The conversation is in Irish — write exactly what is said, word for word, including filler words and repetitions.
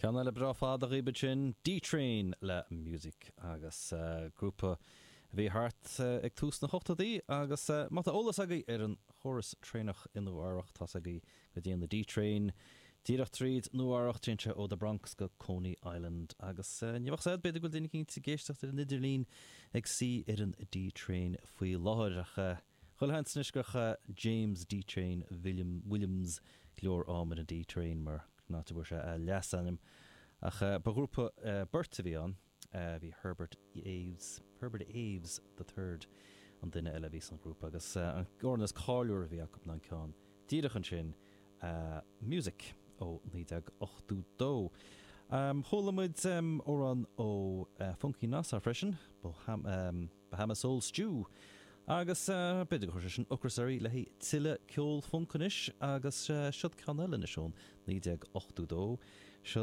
Ceann eile breá fada agaibh sin D-Train le Music agus uh, grúpa a bhí thart uh, ag tús na hochtóidí agus uh, má tá eolas agaibh ar an chóras traenach i Nua-Eabhrac tá agaibh go dtéann na D-Train díreach tríd Nua-Eabhrac téann sé ó the Bronx go Coney Island agus uh, ní bheadh sé b'fhéidir go bhfuil duine éicint ag éisteacht ar an idirlíon ag suí ar an D-Train faoi láthair ach uh, Chuile sheans gur chaith James D-Train William Williams go leor am ar an D-Train mar ná bhfuair sé a leasainm ach uh, ba ghrúpa uh, beirt a bhí ann uh, bhí Herbert Aves Herbert Aves the third an duine eile bhí san grúpa agus uh, an t-amhrán is cáiliúla a bhí acu an ceann díreach ansin uh, Music ó naoi déag ochtó dó. Um, Chuala muid um, amhrán ó uh, Funky Nassau freisin Boham, um, Bahama Soul Stew. Agus uh, b'fhéidir go sin ocras le tuilleadh ceol funk anois agus uh, siod ceann eile ón naoi déag ochtó dó.